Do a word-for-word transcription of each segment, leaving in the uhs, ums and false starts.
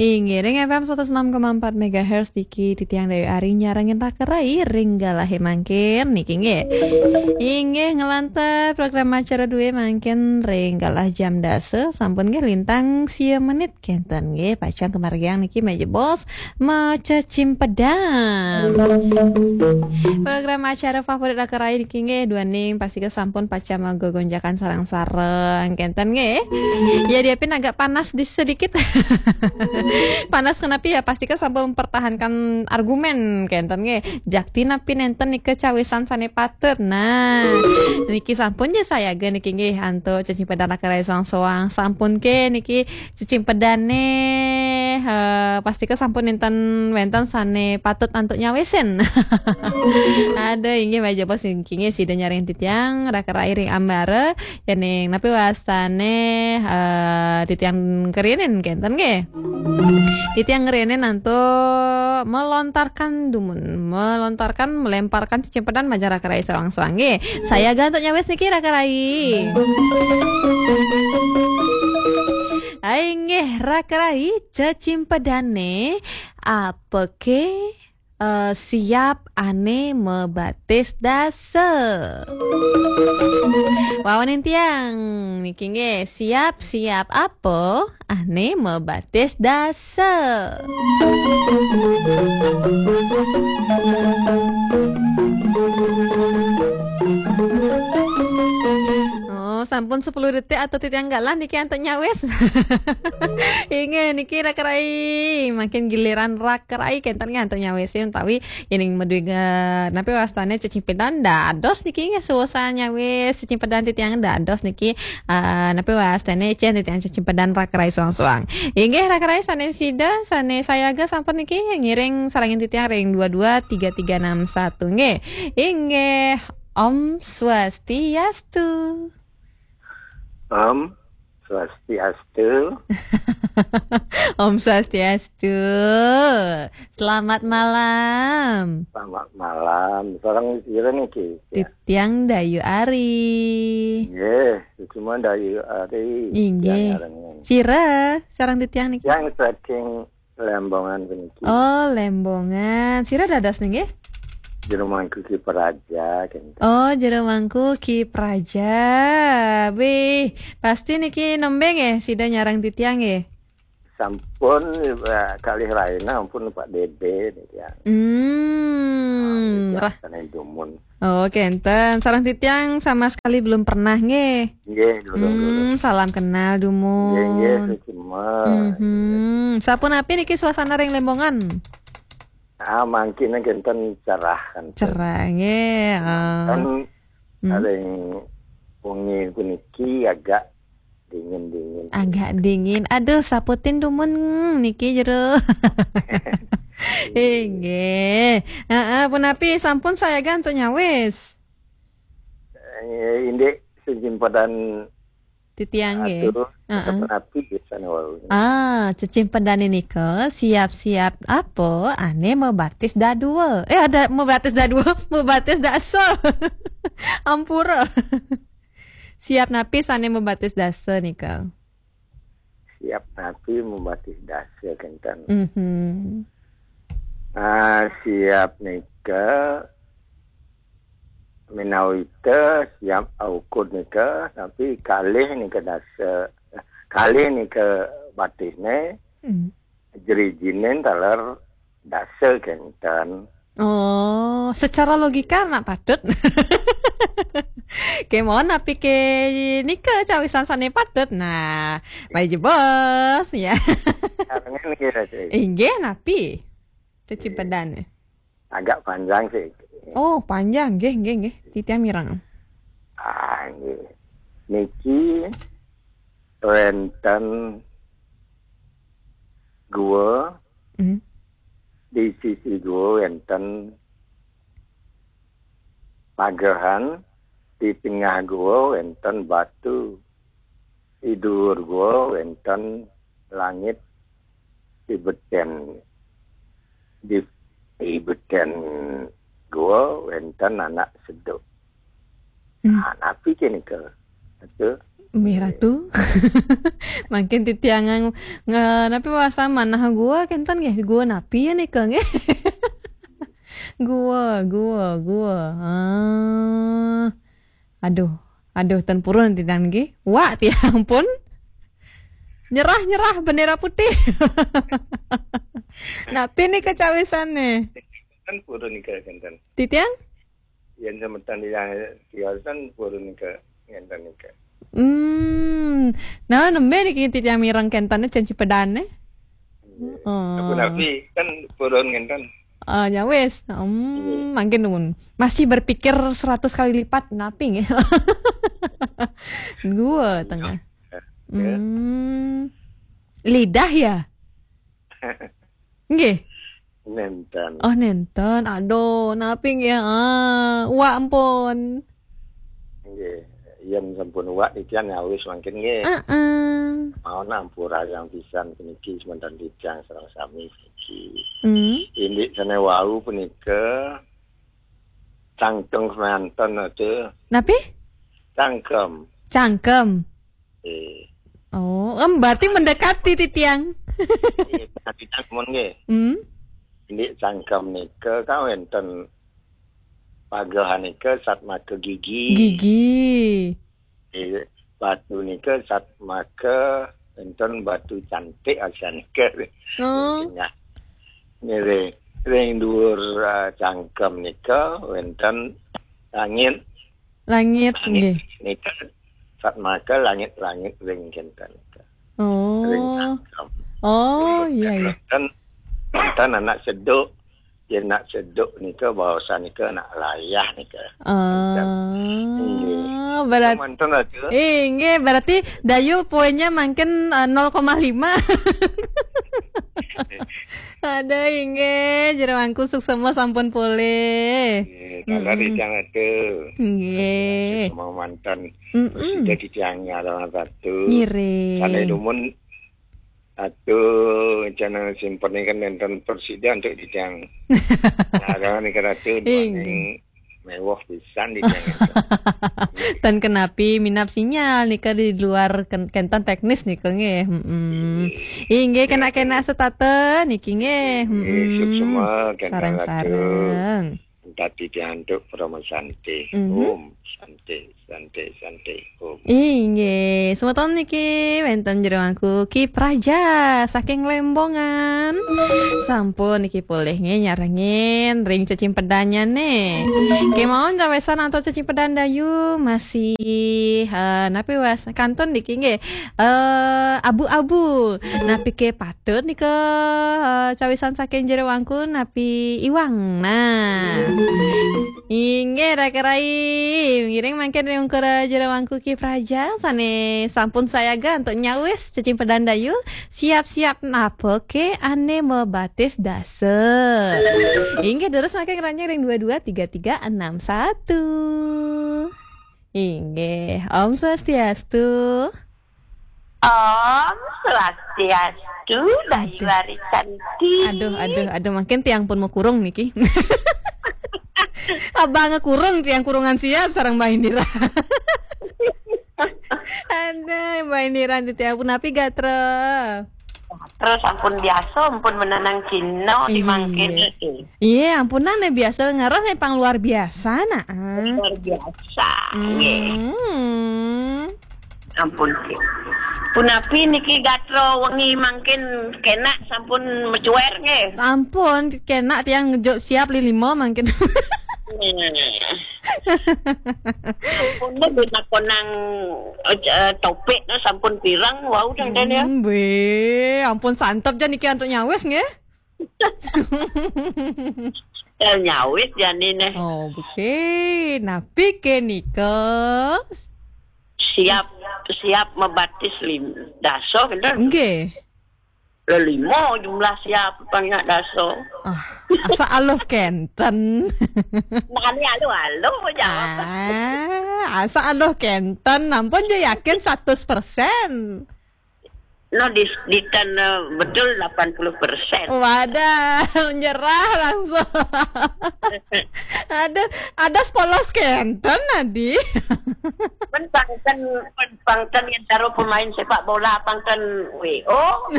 Inggih, ring F M seratus enam koma empat megahertz niki titiang Dayu Ari nyarengin Raka Rai ring galahe mangkin niki nggih. Inggih, nglantur program acara due mangkin ring galah jam dasa, sampun nggih lintang sia menit kenten nggih, pacang kamargiang niki majebos macecimpedan. Program acara favorit Raka Rai niki nggih, duaning pastika sampun pacang magegonjakan sareng-sareng kenten nggih. Ya, diapin agak panas di sedikit. Panas kenapi ya, pastika sampun mempertahankan argumen kenten nggih. Jakti napi nenten nika cawisan sane patut. Nah, niki sampun ja sayaga niki nggih antuk cecimpedan Raka Rai soang-soang. Sampun ke niki cecimpedane, eh, pastika sampun nenten wenten sane patut antuk nyawisin. Ada inggih majebos niki nggih sida nyarengin titiang Raka Rai ring ambara, yening napi wastane, eh, titiang ngrienin kenten nggih. Titiang ngrienin antuk melontarkan dumun, melontarkan, melemparkan cecimpedan majeng Raka Rai soang-soang nggih. Sayaga antuk nyawis niki Raka Rai. Ai nggih Raka Rai, cecimpedane apake, eh, siap ane mabatis dasa? Wawanin tiang niki nggih, siap, siap apa ane mabatis dasa? Oh, sampun sepuluh detik atau titiang galah niki antuk nyawis. Inggih niki Raka Rai, mangkin giliran Raka Rai kenten nggih antuk nyawisin utawi yening madue ga-, napi wastane cecimpedan dados niki nggih suusan nyawis cecimpedan titiang dados niki, eh, napi wastane cen titiang cecimpedan Raka Rai soang-soang. Inggih Raka Rai sane sida, sane sayaga sampun niki ngiring sarengin titiang ring dua dua tiga tiga enam satu nggih. Inggih, Om Swastiastu. Om Swastiastu. Om Swastiastu. Selamat malam. Selamat malam. Sareng sira niki? Ya. Titiang Dayu Ari. Nggih, cuma Dayu Ari. Inggih. Tiang ngarengin. Sira, sareng titiang niki? Yang saking Lembongan puniki. Oh, Lembongan. Sira dados nggih? Jero Mangku Ki Praja, kenten. Oh, Jero Mangku Ki Praja. Wih, pasti niki nembe nggih sida nyareng titiang nggih? Sampun, eh, kalih raina ampun Pak Dede niki ya. Hmm, Ah, rah. Niki dumun. Oh, kenten. Sareng titiang sama sekali belum pernah nggih. Nggih, durung, durung. Hmm, salam kenal dumun. Nggih, nggih, suksma. Mhm. Sapunapi niki suasana ring Lembongan? Ah, mangkin kenten cerah kan. Cerah nggih. Ah. Kan Hmm. Ring wengi puniki agak dingin-dingin. Agak dingin. Aduh, saputin dumun niki jero. Inggih. Heeh, punapi sampun sayaga antuk nyawis? Eh, indik sing simpedan titiang nggih. Atuh, heeh. Sapunapi biasane wau. Ah, cecimpedane nika siap-siap apa? Ane mabatis dadua. Eh, ada mabatis dadua, mabatis dasa. Ampura. Siap napi sane mabatis dasa nika? Siap napi mabatis dasa kenten. Mhm. Ah, siap nika minawita siap aukud nika, tapi kalih nika dasa, kalih nika batisne, hmm, jrijinen taler dasa kenten. Oh, secara logika anak patut. Kemawon napi ke nika cawisan sane patut. Nah, mari jebos ya. Karengan nggih, Ratu. Inggih napi? Cuci, iya, badan. Agak panjang sih. Oh, panjang nggih, nggih, nggih. Titiang mireng. Ah, nggih. Niki wenten gua. Hmm. Di sisi gua wenten pagehan, di tengah gua wenten batu, di dhuwur gua wenten langit, di beten, di, di beten gua wenten anak seduk. Hmm. Nah, napi ke nika? Atuh. Mih Ratu. Mangkin titiang nge-, nge-, napi bahasa manah gua kenten nggih? Gua napi ya nika nggih? Gua, gua, gua. Ah. Aduh, aduh, ten purun titiang nggih. Wak tiang pun. Nyerah, nyerah, bendera putih. Napi nika cawisannya? Kan purun nika kenten. Titiang? Yen semeton yang tiasan purun nika ngenten nika. Hmm. Nah, nembe niki titiang mireng kenten cai cipedan, eh? Nggih. Oh. Tapi kan purun ngenten. Ah, ya wis. Hmm, mangkin nuwun. Masih berpikir seratus kali lipat, napi nggih? Gua tengah. Ya. Hmm. Lidah ya? Nggih. Nenten. Oh, nenten. Aduh, napi nggih? Ah, wak ampun. Nggih. Yen sampun wak titiang nyawis mangkin nggih. Heeh. Mau nampura yang pisan puniki semeton titiang sareng sami puniki. Hmm. Indik sane wau punika cangkem semanten ate. Napi? Cangkem. Cangkem. Eh. Oh, em, berarti mendekati titiang. Eh, titiang mun nggih. Hmm? Indik cangkem nika kawenten pagehan nika satmaka gigi. Gigi. Eh, batu nika satmaka enten batu cantik asanika. Oh. Tengah. Nggih, ring, ring dhuwur, eh, cangkem nika wenten langit. Langit, langit nggih. Nika satmaka langit-langit ring kenten nika. Oh. Ring cangkem. Oh, iya, iya. Wenten, wenten anak seduk. Yen nak seduk nika bahasa nika nak layah nika. Ah, nggih. Berat-, manten aja. Eh, nggih, berarti Dayu poinnya mangkin, eh, nol koma lima. Ada inggih, jero wangku suksema sampun polih. Nggih, kala Mm-mm. Rijang atu. Nggih. Semua mantan. Mm-mm. Sudah dijang ngarang satu. Ngiring. Kala dumun atu, channel simpen kan nenten presiden untuk dijang. Ngarang nika ratu. Inggih. Duaning mewah pisan di channel. Dan kenapi minap sinyal nika di luar ken-, kenten teknis nika nggih. Mm-mm. Iya. Inggih, kena-kena setata niki nggih. Iya, mm-mm. Suksema kenten sareng-sareng. Tadi diantuk Parama Santi. Mhm. Om Santi, Santi, Santi, Om. Inggih, semeton niki wenten jero wangku Ki Praja saking Lembongan. Sampun niki polih nggih nyarengin ring cecimpedannya nih. Kemawon cawesan antuk cecimpedan Dayu masih, eh, napi was kantun niki nggih. Eh, abu-abu. Napi ke patut nika, eh, cawisan saking jero wangku napi iwang. Nah. Inggih, Raka Rai. Ngiring mangkin ring ungkur jero wangku Ki Praja sane sampun sayaga untuk nyawis cecimpedan Dayu. Siap-siap napa ke ane mebatis dasa. Inggih, terus mangkin keranjang ring dua dua tiga tiga enam satu. Inggih, Om Swastiastu. Om Swastiastu, Dayu Aduh. Ari Cantik. Aduh, aduh, aduh, mangkin tiang pun mau kurung niki. Abang kurung, tiang kurungan siap sareng Mbah Indira. Aduh, Mbah Indira titiang punapi gatra? Terus ampun biasa, ampun menanang Cina di mangkin. Iya. Iya, ampunan nih biasa ngarah nih pang luar biasa nah. Luar biasa. Nggih. Hmm. Ampun. Punapi niki gatra wengi mangkin kena sampun mecuer nggih. Ampun, kena tiang ngejuk siap lilima mangkin. Nah. Ampun deh, dina konang, eh, topik nah sampun pirang, wau dang den ya. Hmm, weh, ampun santep jan niki antuk nyawis nggih. Eh, nyawis jani neh. Oh, oke. Napi ke nika? Siap, siap mebatis lim-, dasa, bener? Nggih. Lelima jumlah siap, banyak dasa. Ah, asa aluh kenten. Nah, ini aluh-aluh jawab. Ah, asa aluh kenten. Ampun je yakin seratus persen. No, di, di tan, eh, betul delapan puluh persen. Wadah, nyerah langsung. Aduh, ada sepolos kenten tadi. Men pangten, men pangten yang taruh pemain sepak bola pangten W O.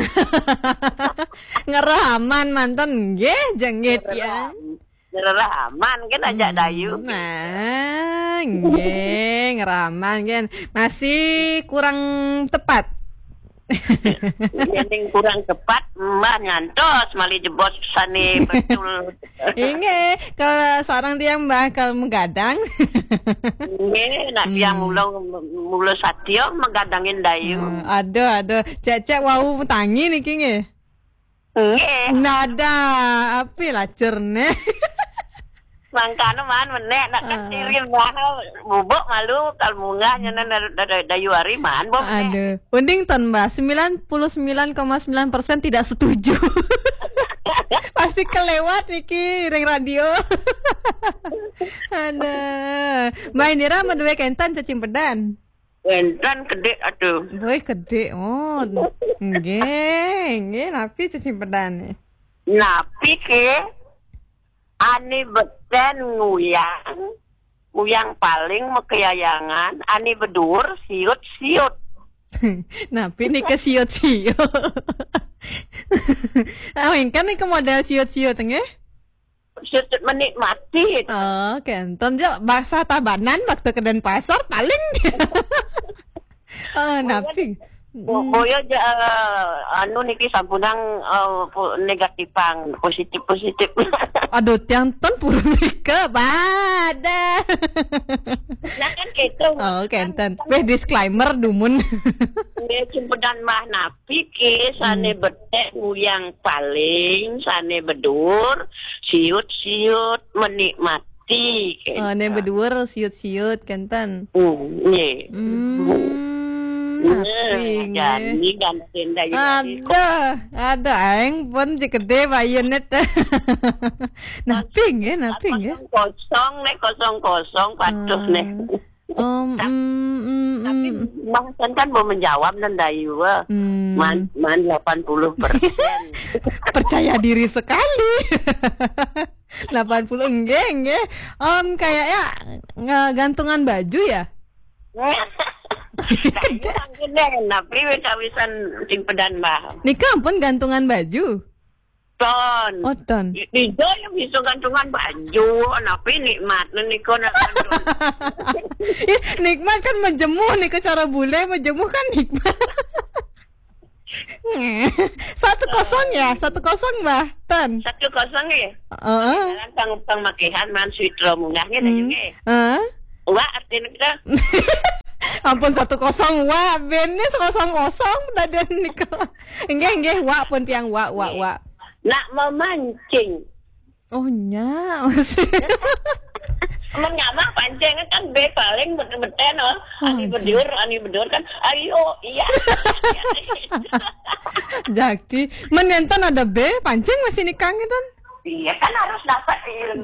Ngeraman manten nggih, jengit ya. Ngereraman kan ajak Dayu. Nah, nggih, ngeraman kan. Masih kurang tepat. Yen kurang tepat, Mbah ngantos malih jebos sane betul. Inggih, kalau seorang tiang Mbah kalau menggadang. Nggih, nak tiang mula, mula satya megadangin Dayu. Hmm, aduh, aduh. Cek-cek wau tangi niki nggih. Nggih. Nada, api lacerne. Mangkane man menek nak keciri mah bubuk malu kal munggah nyenen dari, dari Dayu Ari man bom. Aduh, uning ton Mbah, sembilan puluh sembilan koma sembilan persen tidak setuju. Pasti kelewat niki ring radio. Aduh. Mbah Indira madue kenten cecimpedan. Wenten kedik aduh. Woi, kedik. Oh, nggih, nggih, napi cecimpedan? Napi ke? Ani beten nguyang, nguyang paling makayayangan, ani bedur siut-siut. Napi nika siut-siut? Ah, engken nika model siut-siut nggih? Siut menikmati. Oh, kenten jo bahasa Tabanan waktu ke Denpasar paling. Oh, napi? Bo-, boyo ja, eh, anu niki sampunang, eh, po-, negatifang, positif-positif. Aduh, tiang ten purun nika, bada. Nah, kan gitu. Oh, kenten. Weh, disclaimer dumun. Nggih, cumpedan mah napi ke, sane betek nguyang paling, sane bedur, siut-siut, menikmati, Oh, ne kenten. Beduur siut-siut, kenten. Hmm, nggih. Hmm, Nah, napi nggih? Jani ganten dah ya. Aduh, aduh, aing pun cekede bayunet. Napi nggih, napi nggih? Kosong, kosong, ne, kosong, kosong, patuh, ne. Ah. Om, Tap-, mm, mm, tapi mm. Bang Sen kan mau menjawab dan Dayu, eh. Hmm. Man, man delapan puluh persen. Percaya diri sekali. Delapan puluh, nggih, nggih. Om, kayaknya, eh, gantungan baju ya? Kayaknya mungkin deh, tapi wis awisan sing pedan, Mbah. Nika ampun gantungan baju. Ton. Oh, ton. I-, ijo yang bisa gantungan baju, tapi nikmat nika nak gantungan. Ih, nikmat kan menjemuh nika cara bule, menjemuh kan nikmat. Satu kosong ya, satu kosong, Mbah. Ton. Satu kosong ya? Heeh. Jalan pang-, pangmakihan man suitra munggah nggih, Hmm. Dayu nggih. Heeh. Wak artine kita. Ampun, satu kosong, wak. Bene sekosong-kosong daden nika. Nggih, nggih, wak pun tiang, wak, wak, Nggih. Wak. Nak memancing. Oh, nya, masih. Men ngamah pancing kan be paling bete-bete, no. Oh, ani bedur, ani bedur kan, ayo, iya. Jaki, men enten ada be, pancing masih nikang itu. Iya, kan harus dapat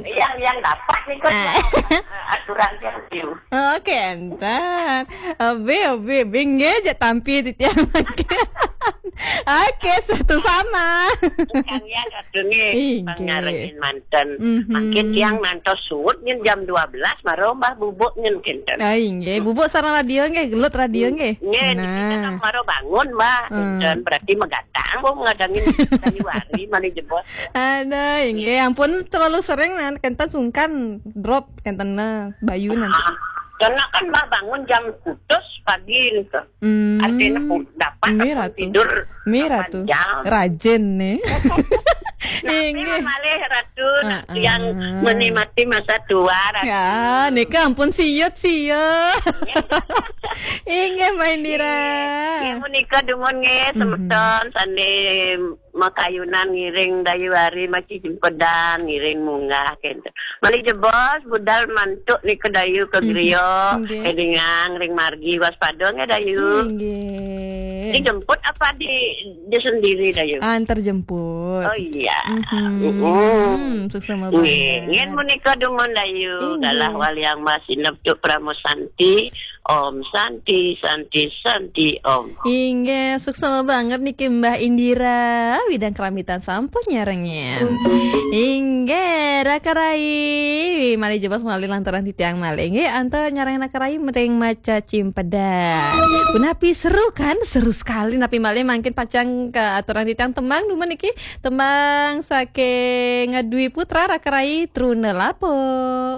yang, yang dapat nih, kan. Ah. Aturan yang view. Oke, enten. Obe, obe, obe, nggih, jak tampi titiang makin. Oke, satu sama. Kang ya, satu nih, Inggih. Pangarekin manten. Mhm. Makin tiang nantos suut nyen jam dua belas, maro Mbah bubuk nyen kinten. Ah, inggih, bubuk sareng radio nggih, gelut radio nggih. Nggih, niki Nah. Kan maro bangun, Mbah. Hmm. Kinten, berarti megatang, Bu, ngadangin Dayu Ari, mani jebos. Ada, inggih, ampun terlalu sering, nah, kenten sungkan drop, kenten, nah, bayu nanti. Ah, karena kan Mbah bangun jam putus pagi nih, tuh. Hmm. Artinya pu-, dapat Nggih, aku Ratu. Tidur Nggih, delapan Ratu. Jam. Rajin nih. Nah, Inggih. Malih Ratu, nak Ah, yang ah. Menikmati masa tua, Ratu. Ya, nika ampun siut, siut. Inggih, Mbah Indira. Nggih, menika dumun nggih, Mhm. Semeton, sane makayunan ngiring Dayu Ari, masih jempedan, ngiring munggah, gitu. Malih jebos, budal mantuk nika Dayu ke Mhm. Griya, Inggih. Edingang, ring margi, waspada nggih, Dayu. Inggih. Dijemput apa di, di sendiri, Dayu? Antar jemput. Oh iya. Mhm. Mm-mm. Suksma Nggih, banget. Nggih menika dumun Dayu Inggih. Dalah Waliang Mas Sinep Cuk Pramu Santi. Om Santi, Santi, Santi, Om. Inggih, suksma banget niki Mbah Indira, Widang Keramitan sampun nyarengin. Inggih, Raka Rai, malih jebos malih lantaran titiang malih. Inggih, antuk nyarengin Raka Rai mering maca cimpedan. Punapi seru kan? Seru sekali. Napi malih mangkin pacang kaaturan titiang tembang dumun niki, tembang saking Dwi Putra, Raka Rai, Truna Lapuk.